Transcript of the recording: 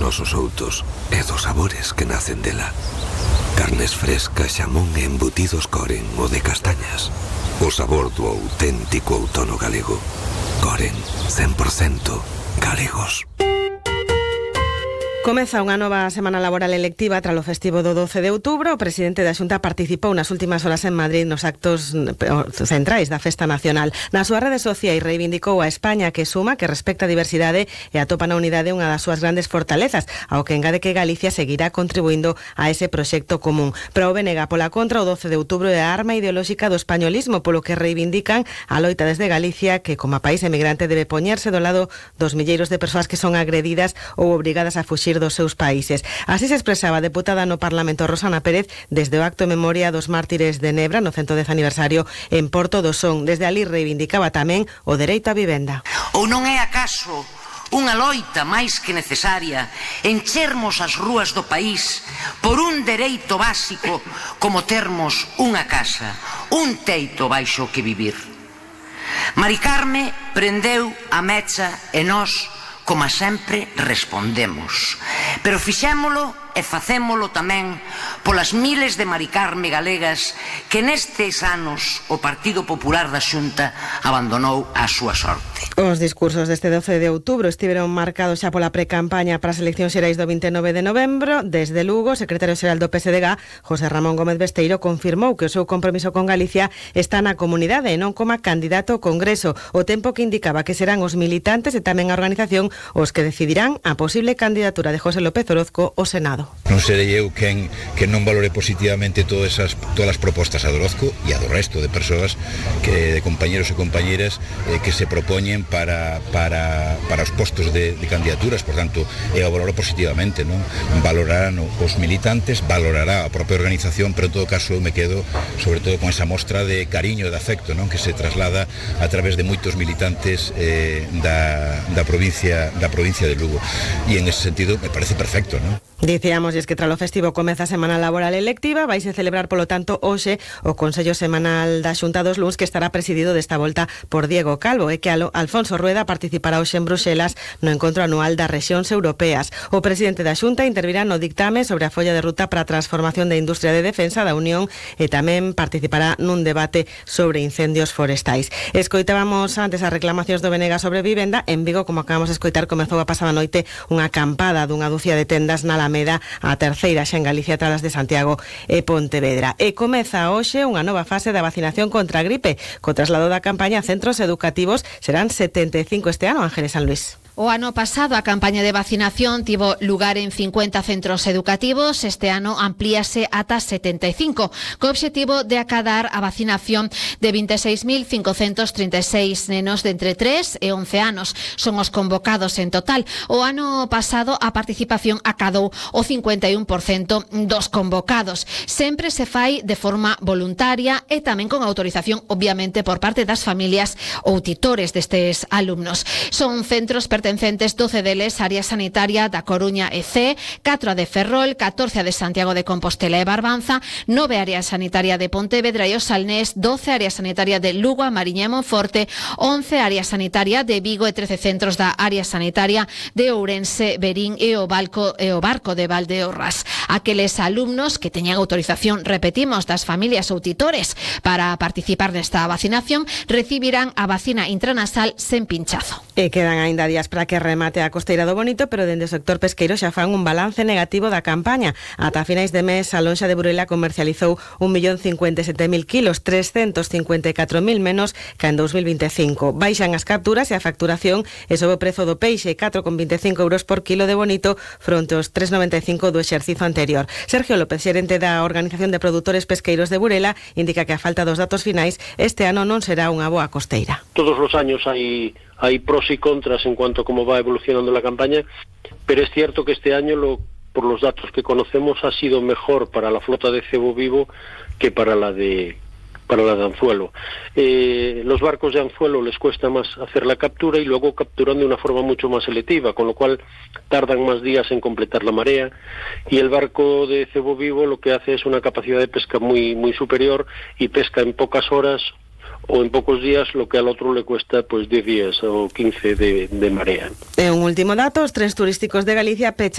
nosos outos e dos sabores que nacen dela. Carnes frescas, xamón e embutidos Coren, o de castañas. O sabor do auténtico outono galego. Coren, 100% galegos. Comeza unha nova semana laboral electiva tras o festivo do 12 de outubro. O presidente da Xunta participou nas últimas horas en Madrid nos actos centrais da Festa Nacional. Nas súas redes sociais reivindicou a España que suma, que respecta a diversidade e atopa na unidade unha das súas grandes fortalezas, ao que engade que Galicia seguirá contribuindo a ese proxecto común. Pero o BNG pola contra, o 12 de outubro é a arma ideolóxica do españolismo, polo que reivindican a loita desde Galicia que, como país emigrante, debe poñerse do lado dos milleiros de persoas que son agredidas ou obrigadas a fuxir dos seus países. Así se expresaba a deputada no Parlamento Rosana Pérez desde o acto en memoria dos mártires de Nebra no 110 aniversario en Porto do Son. Desde ali reivindicaba tamén o dereito á vivenda. Ou non é acaso unha loita máis que necesaria enchermos as rúas do país por un dereito básico como termos unha casa, un teito baixo que vivir? Mari Carme prendeu a mecha e nós, como sempre, respondemos. Pero fixémolo e facémolo tamén polas miles de Mari Carme galegas que nestes anos o Partido Popular da Xunta abandonou a súa sorte. Os discursos deste 12 de outubro estiveron marcados xa pola precampaña para as eleccións xerais do 29 de novembro. Desde Lugo, o secretario xeral do PSDG, José Ramón Gómez Besteiro, confirmou que o seu compromiso con Galicia está na comunidade e non como candidato ao Congreso, o tempo que indicaba que serán os militantes e tamén a organización os que decidirán a posible candidatura de José López Orozco ao Senado. Non serei eu que non valore positivamente todas as propostas a do Orozco e a do resto de persoas, de compañeros e compañeras que se propoñen para os postos de candidaturas. Por tanto, eu valoro positivamente, non? Valorarán os militantes, valorará a propia organización, pero en todo caso eu me quedo sobre todo con esa mostra de cariño e de afecto, non? Que se traslada a través de moitos militantes da provincia de Lugo, e en ese sentido me parece perfecto, non? Dicíamos que tras o festivo comeza a semana laboral electiva, vaise celebrar polo tanto hoxe o Consello Semanal da Xunta dos Luns, que estará presidido desta volta por Diego Calvo, e que Alfonso Rueda participará hoxe en Bruxelas no encontro anual das rexións europeas. O presidente da Xunta intervirá no dictame sobre a folla de ruta para a transformación da industria de defensa da Unión e tamén participará nun debate sobre incendios forestais. Escoitábamos antes as reclamacións do BNG sobre vivenda. En Vigo, como acabamos de escoitar, comezou a pasada noite unha acampada dunha dúcia de tendas na Alameda, a terceira xa en Galicia tras de Santiago e Pontevedra. E comeza hoxe unha nova fase da vacinación contra a gripe, co traslado da campaña a centros educativos. Serán 75 este ano, Ángeles San Luis. O ano pasado a campaña de vacinación tivo lugar en 50 centros educativos. Este ano amplíase ata 75, co obxectivo de acadar a vacinación de 26.536 nenos de entre 3 e 11 anos. Son os convocados en total. O ano pasado a participación acadou o 51% dos convocados. Sempre se fai de forma voluntaria e tamén con autorización, obviamente, por parte das familias ou tutores destes alumnos. Son centros pertencentes 12 deles área sanitaria da Coruña e C, 4 a de Ferrol, 14 a de Santiago de Compostela e Barbanza, 9 área sanitaria de Pontevedra e o Salnés, 12 área sanitaria de Lugo, a Mariña e Monforte, 11 área sanitaria de Vigo e 13 centros da área sanitaria de Ourense, Verín e o Barco de Valdeorras. Aqueles alumnos que teñan autorización, repetimos, das familias ou tutores para participar nesta vacinación recibirán a vacina intranasal sen pinchazo. E quedan aínda días para que remate a Costeira do Bonito, pero dende o sector pesqueiro xa fan un balance negativo da campaña. Ata finais de mes, a lonxa de Burela comercializou 1.057.000 kilos, 354.000 menos que en 2025. Baixan as capturas e a facturación e sobe o prezo do peixe, 4,25 euros por kilo de bonito fronte aos 3,95 do exercicio anterior. Sergio López, xerente da Organización de Produtores Pesqueiros de Burela, indica que a falta dos datos finais este ano non será unha boa costeira. Todos os años hai pros y contras en cuanto a cómo va evolucionando la campaña, pero es cierto que este año, por los datos que conocemos, ha sido mejor para la flota de cebo vivo que para la de anzuelo. Los barcos de anzuelo les cuesta más hacer la captura y luego capturan de una forma mucho más selectiva, con lo cual tardan más días en completar la marea, y el barco de cebo vivo lo que hace es una capacidad de pesca muy, muy superior y pesca en pocas horas o en pocos días lo que al otro le cuesta pues 10 días o 15 de marea. Un último dato, os trens turísticos de Galicia pechan